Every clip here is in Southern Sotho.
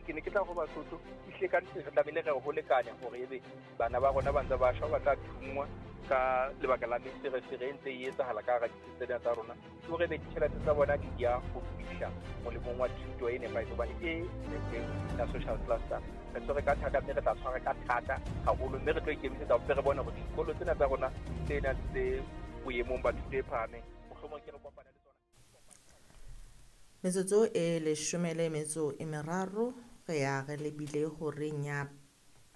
Ke ne ke tla go Basotho ehlile ka nnete re tlamehile re ho lekane hore ebe bana ba rona ba ntse ba shwa, ba tla thunngwa ka lebaka la meferefere e ntse e etsahala ka hara ditsi tsena tsa rona, ke hore ebe ditjhelete tsa bona di ya ho fihla molemong wa thuto e nepahetseng, hobane e teng ya social cluster re tshwere ka thata, mme re tla tshwara ka thata haholo, mme re tlo ikemisetsa ho re bone hore dikolo tsena tsa rona tsena tse boemong ba thuto e phahameng mohlomong ke re kopane le tsona. Metsotso e 13 re ya re lebile horeng ya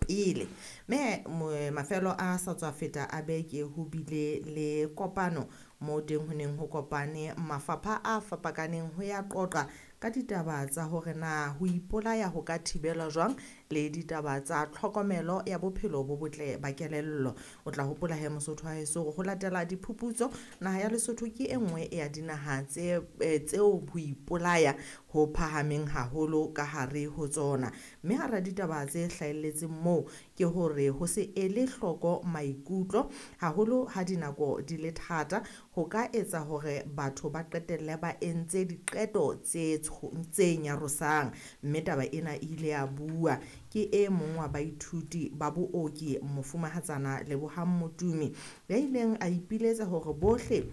pele. Mme mafelo a sa tswa feta a beke ho bile le kopano mo teng ho neng ho kopane mafapha a fapakaneng ho ya qoqa ka ditaba tsa hore na ho ipolaya ho ka thibelwa jwang le ditaba tsa tlhokomelo ya bophelo bo botle ba kelello. O tla hopola he Mosotho wa heso hore ho latela diphuputso naha ya Lesotho ke e nngwe ya dinaha tse tseo ho ipolaya ho phahameng haholo ka hare ho tsona. Mme hara ditaba tse hlahelletseng moo ke hore ho se ele hloko maikutlo haholo ha dinako di le thata ho ka etsa hore batho ba qetelle ba entse diqeto tse nyarosang. Mme taba ena e ile ya bua ke e mong wa baithuti ba booki mofumahatsana Lebohang Motumi ya ileng a ipiletsa hore bohle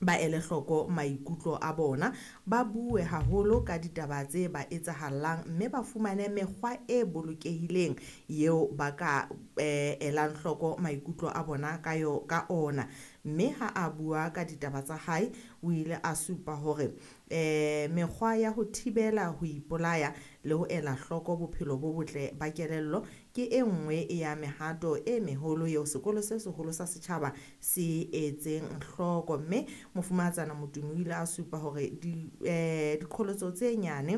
ba ele hloko maikutlo a bona, ba bue haholo ka ditaba tse ba etsahallang mme ba fumane mekgwa e bolokehileng eo ba ka elang hloko maikutlo a bona ka yo ka ona. Mme ha a bua ka ditaba tsa hae o ile a supa hore mekgwa ya ho thibela ho ipolaya le ho ela hloko bophelo bo botle ba kelello ke e nngwe ya mehato e meholo eo sekolo se seholo sa setjhaba se etseng hloko. Mme mofumahatsana Motumi o ile a supa hore diqholotso tse nyane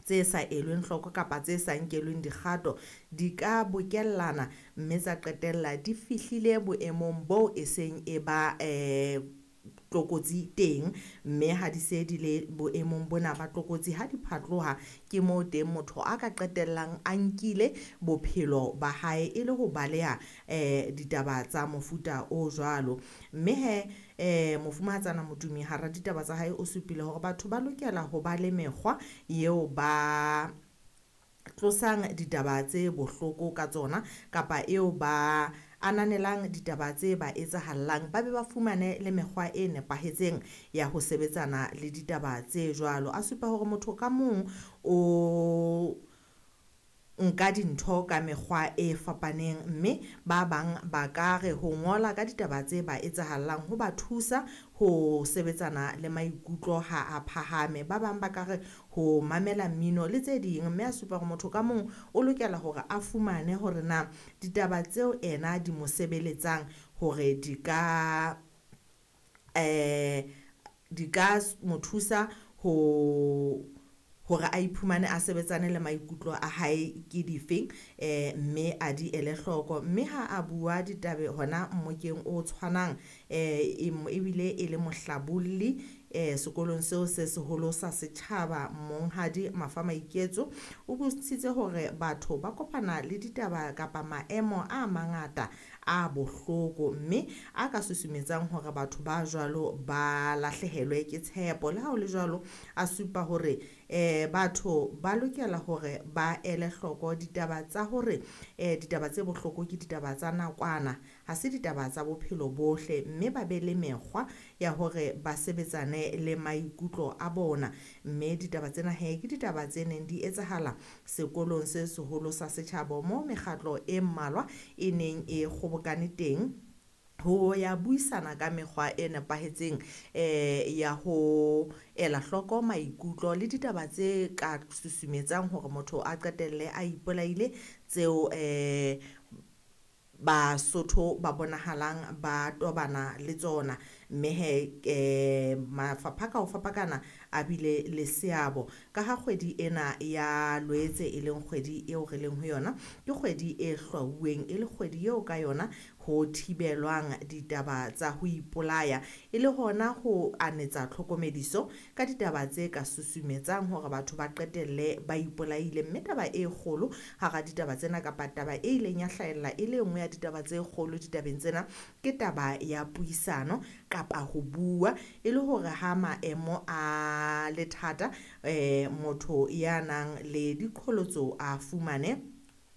tse sa elweng hloko kapa tse sa nkelweng dikgato di ka bokellana mme tsa qetella di fihlile boemong boo e seng e ba tlokotsi teng, mme ha di se di le boemong bona ba tlokotsi ha di phatloha ke moo teng motho a ka qetellang a nkile bophelo ba hae e le ho baleha ditaba tsa mofuta o jwalo. Mme he mofumahatsana Motumi hara ditaba tsa hae o supile hore batho ba lokela ho ba le mekgwa eo ba tlosang ditaba tse bohloko ka tsona kapa eo ba ananelang ditaba tse ba etsahallang, ba be ba fumane le mekgwa e nepahetseng ya ho sebetsana le ditaba tse jwalo. A supa hore motho ka mong o nka dintho ka mekgwa e fapaneng, mme ba bang ba ka re ho ngola ka ditaba tse ba etsahallang ho ba thusa ho sebetsana le maikutlo ha a phahame, ba bang ba ka re ho mamela mmino le tse ding. Mme a supa hore motho ka mong o lokela hore a fumane hore na ditaba tseo ena di mo sebeletsang hore di ka mo thusa ho hore a iphumane a sebetsane le maikutlo a hae ke difeng, mme a di ele hloko. Mme ha a bua ditabe hona mmokeng o tshwanang ebile e le mohlabolli sekolong seo se seholo sa setjhaba Monghadi Mafa Maiketso o bontshitse hore batho ba kopana le ditaba kapa maemo a mangata a bohloko mme a ka susumetsang hore batho ba jwalo ba lahlehelwe ke tshepo. Le ha ho le jwalo a supa hore batho ba lokela hore ba ele hloko ditaba tsa hore ditaba tse bohloko ke ditaba tsa nakwana, ha se ditaba tsa bophelo bohle, mme ba be le mekgwa ya hore ba sebetsane le maikutlo a bona. Mme ditaba tsena he ke ditaba tse neng di etsahala sekolong se seholo sa setjhaba moo mekgatlo e mmalwa e neng e kgobokane teng ho ya buisana ka mekgwa e nepahetseng ya ho ela hloko maikutlo le ditaba tse ka susumetsang hore motho a qetelle a ipolaile tseo Basotho ba bonahalang ba tobana le tsona. Mme he mafapha ka ho fapakana a bile le seabo ka ha kgwedi ena ya Loetse e leng kgwedi eo re leng ho yona ke kgwedi e hlwauweng e le kgwedi eo ka yona ho thibelwang ditaba tsa ho ipolaya e le hona ho anetsa tlhokomediso ka ditaba tse ka susumetsang hore batho ba qetelle ba ipolaile. Mme taba e kgolo hara ditaba tsena kapa taba e ileng ya hlahella e le nngwe ya ditaba tse kgolo ditabeng tsena ke taba ya puisano kapa ho bua e le hore ha maemo a a le thata motho ya nang le diqholotso a fumane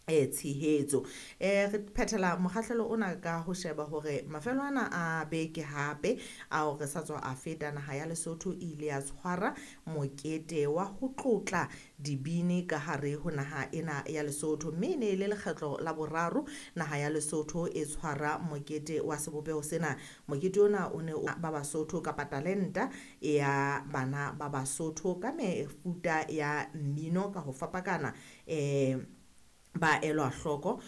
tshehetso. Re phethela mokgahlelo ona ka ho sheba hore mafelo ana a beke hape ao re sa tswa a feta, naha ya Lesotho e ile ya tshwara mokete wa ho tlotla dibini ka hare ho naha ena ya Lesotho, mme e ne e le lekgetlo la boraro naha ya Lesotho e tshwara mokete wa sebopeho sena. Mokete ona o ne o ba Basotho kapa talenta ya bana ba Basotho ka mefuta ya mmino ka ho fapakana ba elwa hloko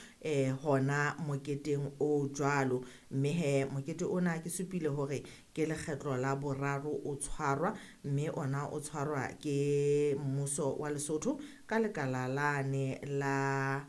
hona moketeng o jwalo. Mme he mokete ona ke supile hore ke lekgetlo la boraro o tshwarwa, mme ona o tshwarwa ke mmuso wa Lesotho ka lekala lane la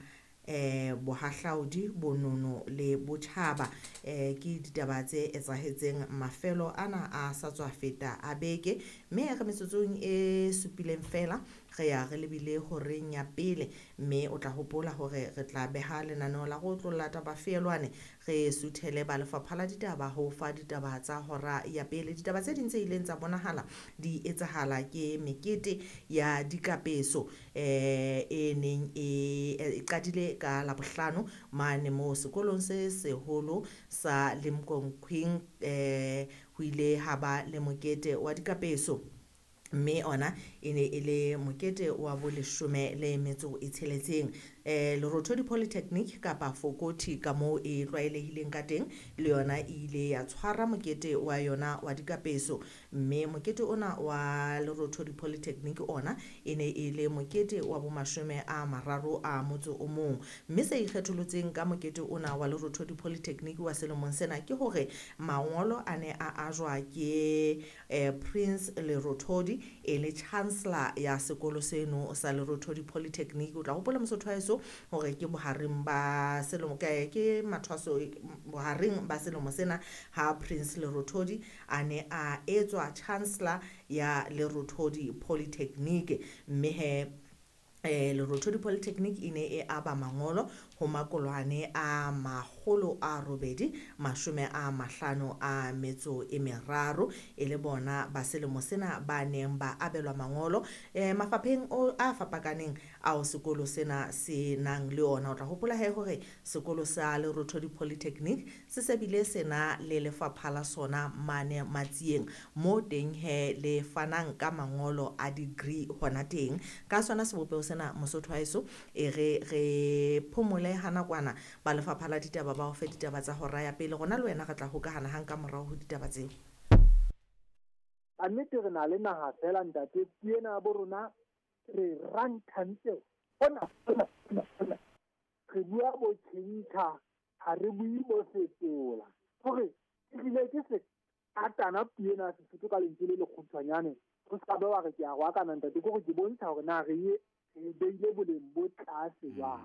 bohahlaudi, bonono le botjhaba. Ke ditaba tse etsahetseng mafelo ana a sa tswa feta a beke, mme re metsotsong e supileng fela re ya re lebile horeng ya pele, mme o tla hopola hore re tla beha lenaneo la go tlolla taba feelwane, re suthele ba lefapha la ditaba ho fa ditaba tsa hora ya pele. Ditaba tse ding tse ileng tsa bonahala di etsahala ke mekete ya dikapeso e neng e qadile ka Labohlano mane moo sekolong se seholo sa Limkokwing, ho ile ha ba le mokete wa dikapeso, mme ona e ne e le mokete wa boleshome le metso e tsheletseng. Lerothodi Polytechnic kapa Fokothi ka moo e tlwaelehileng ka teng, le yona e ile ya tshwara mokete wa yona wa dikapeso, mme mokete ona wa Lerothodi Polytechnic ona e ne e le mokete wa bomashome a mararo a motso o mong. Mme se ikgetholotseng ka mokete ona wa Lerothodi Polytechnic wa selemong sena ke hore mangolo a ne a ajwa ke Prince Lerothodi e le chancellor ya sekolo seno sa Lerothodi Polytechnic. O tla hopola Mosotho wa heso hore ke bohareng ba selemo ke mathwaso bohareng ba selemo sena ha Prince Lerothodi a ne a etswa chancellor ya Lerothodi Polytechnic, mme he Lerothodi Polytechnic e ne e aba mangolo ho makolwane a 853 e le bona ba selemo sena ba neng ba abelwa mangolo mafapheng a fapakaneng ao sekolo sena se nang le ona. O tla hopola he hore sekolo sa Lerothodi Polytechnic se sebile sena le lefapha la sona mane Matsieng, mo teng he le fanang ka mangolo a degree hona teng. Ka sona sebopeho sena Mosotho wa heso e re phomole ha nakwana ba lefapha la ditaba ba o fe ditaba tsa hora ya pele, rona le wena re tla hokahana hang ka morao ho ditaba tseo. A nnete re na le naha fela ntate, puo ena ya bo rona re ranthantse hona hona, re bua bo tjhentjha, ha re bue bo fetola. Hore ehlile ke se atana puo ena ya Sesotho ka lentswe le lekgutshwanyane, ho ska be wa re ke a roakana ntate, ke hore ke bontsha hore na re beile boleng bo tlase jwang.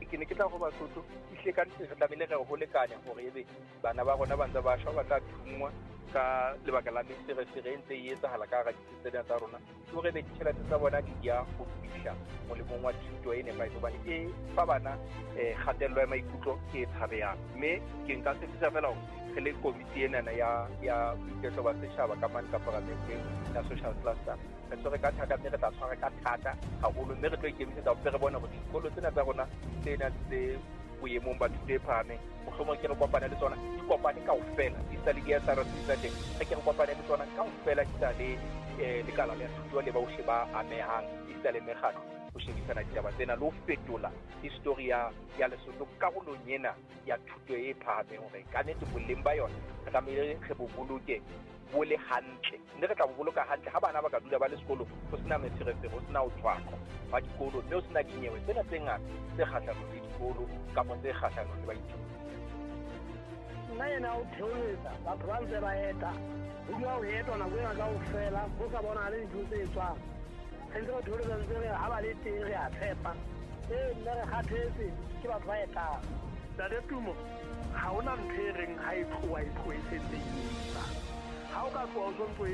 Ke ne ke tla ho Basotho ehlile ka nnete re tlamehile re ho lekane hore ebe bana ba rona ba ntse ba shwa, ba tla thunngwa ka lebaka la meferefere e ntse e etsahala ka hara ditsena tsa rona, ke hore ebe ditjhelete tsa bona di ya ho fihla molemong wa thuto e nepahetseng, hobane e fa bana kgatello ya maikutlo e tshabehang. Mme ke nka tshepisa fela hore re le komiti enana ya boiketlo ba setjhaba ka mane ka paramenteng ya social cluster, re tshwere ka thata, mme re tla tshwara ka thata haholo, mme re tlo ikemisetsa hore re bone hore dikolo tsena tsa rona tsena tse boemong ba thuto e phahameng, mohlomong ke re kopane le tsona, di kopane kaofela, di sa le di-SRC tsa teng, re ke re kopane le tsona kaofela, di sa le lekala la thuto le bohle ba amehang, di sa le mekgatlo ho shebisana ditaba tsena le ho fetola history ya Lesotho karolong ena ya thuto e phahameng, hore ka nnete boleng ba yona re tlamehile re bo boloke bo le hantle, mme re tla bo boloka hantle ha bana ba ka dula ba le sekolo, ho sena meferefere, ho sena ho tshwaqwa ba dikolo, mme ho sena dinyewe tsena tse ngata tse kgahlanong le dikolo kapa tse kgahlanong le baithuti. Nna yena o theoletsa batho ba ntse ba eta, ho dula ho etwa nako ena kaofela, ho sa bonahale dintho tse etswang. Re ntse re theoletsa ntse re ha ba le teng re a tshepa, ee nna re kgathetse ke batho ba etang. Ntate Tumo, ha hona ntho e reng ha e tloha e tlohe e setse e etsa. Ha o ka tloha o sontso